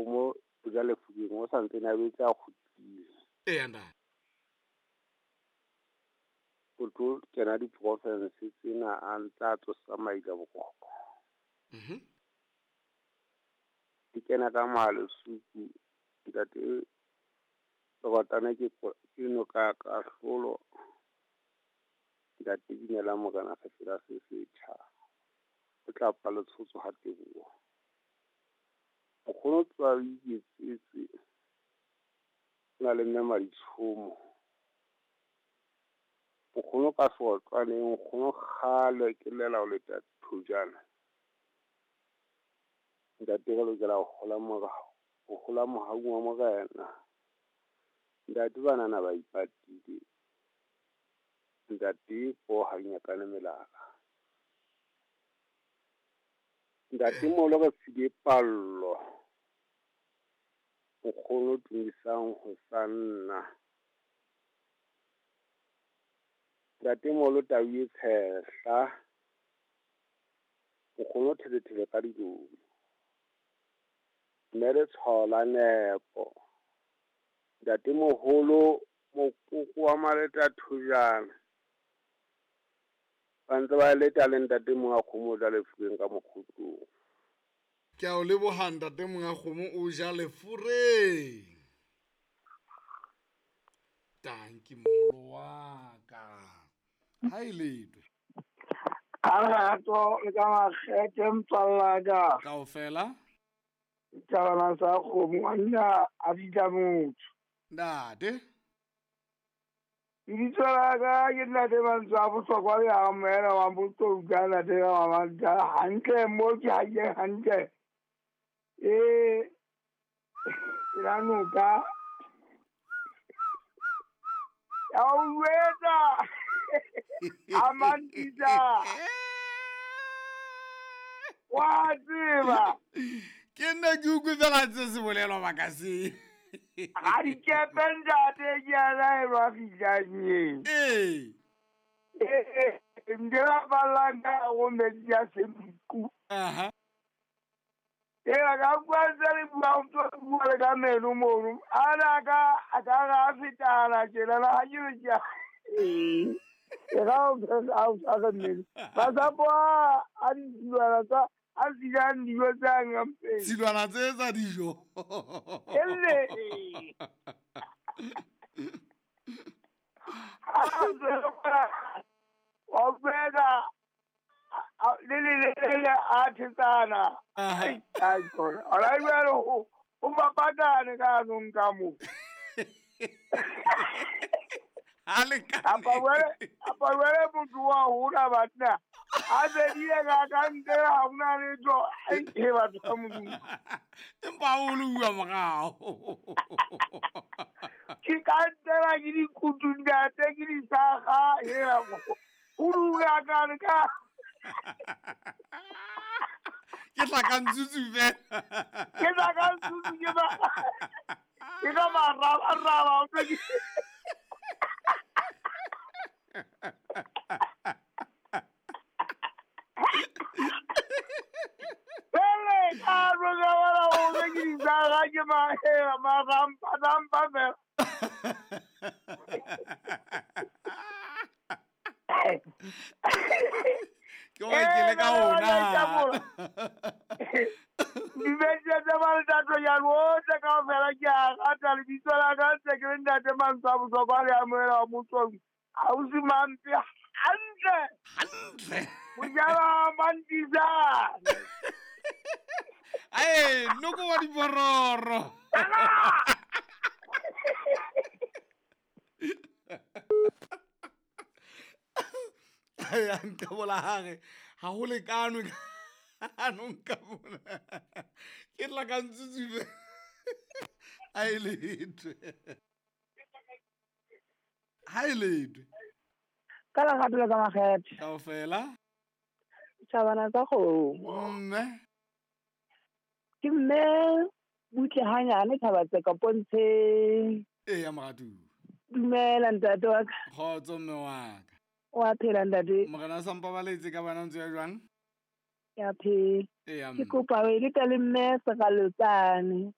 kgomo o ja lefokeng o sa ntsene a betse a kgutlile. Eya ntate. O tlo kena diporofense tsena a ntse a tsosa maila boroko. Di kena ka Mahalesuku ntate Lebatana ke ke noka ya kahlolo. Ntate Dumela Morena sefela se setjha. O tla pa letshotso ha teboho. Nkgono tloha o iketsetse. O na le mme Maditshomo. Nkgono ka seotlwaneng, nkgono kgale ke llela ho leta thojana. Ntate re lokela ho hola morao, ho hola mohaung wa Morena. Ntate banana ba ipatile. Ntate po ha di nyakane melala. Ntate molo re file pallo. Nkgono tumisang ho sa nna. Ntate molo tau e tshehla. Nkgono thele ka dilomo. Mme letshwao la nepo. Ntate moholo mokoko wa Maleta thojana. Ba ntse ba leta le ntate monga kgomo o ja lefureng ka mokgotlong. Ke a o leboha ntate monga kgomo o ja lefureng. Tanki moholo wa ka. Ha e letwe. Ka lerato le ka makgethe motswalla ka. Kaofela. Dithabana tsa kgomo a nna a bitsa motho. Ntate. Lebitso la ka ke ntate mantswe a bohlokwa le a moela wa botouka ntate wa manta hantle mo ke hantle hantle. E la noka. Ya o jwetsa. A mantisa. Wa tseba. Ke nna ke utlwe fela ntse se bolelwa makaseng. Ga dikepe ntate ke a laelwa fihlang eng. Ee. Ee, nke ba ballang ka go metsi a senku. Aha. Ee, ka bua ntse le bua o ntse o bua le ka meno mono. Ana ka a ka ga a fetana tjena ha ke re ke a ee. Ke ga o a o tshware mmele. Masapo a ditsilwana tsa a silang dijo tsa ngampeng. Tsilwana tse tsa dijo. Elle. Wa utlwela le le le le a thetsana. Aha. Ai tsona. Ora jwale ho o mapatane ka nong ka mo. Ha lekane. Apa jwale motho wa hola banna. A bedile ka ka ntle ha hona letho. Ai e batho ba Modimo. Empa o le bua morao. Ke ka ntela ke dikutu ntate ke disaga hela o dula ka re ka. Ke tla ka ntsutsu fela. Ke tla ka ntsutsu ke ba. Ke ka maraba o tlo ke. Pele ka roka wala o tlo ke disaga ke mahela marampa rampa fela. Ke wa ke le ka ona. Dibetsa tsa ba le tatlo ya lohle kaofela ke a rata lebitso la ka ntse ke le ntate mantswe a bohlokwa le amohela wa motswang. Ausi Mampe hantle. Hantle. Mojala Mantisane. Ae, noko wa dibororo. Ai, a nka bola hare. Ha ho lekanwe ka no nka bona. Ke tla ka ntsutsu. Ai letwe. Ha e letwe. Ka lerato le ka makgethe. Kaofela. Tjhabana tsa kgomo. Mme. Ke mme butle hanyane Thabatseka Pontsheng. Eya moratuwa. Dumela ntate wa ka. Kgotso mme wa ka. Wa phela ntate. Morena a sa mpabaletse ka bana ntse ya jwang? Ke a phela. Eya Ke mme. kopa o e leta le mme Seralotsane.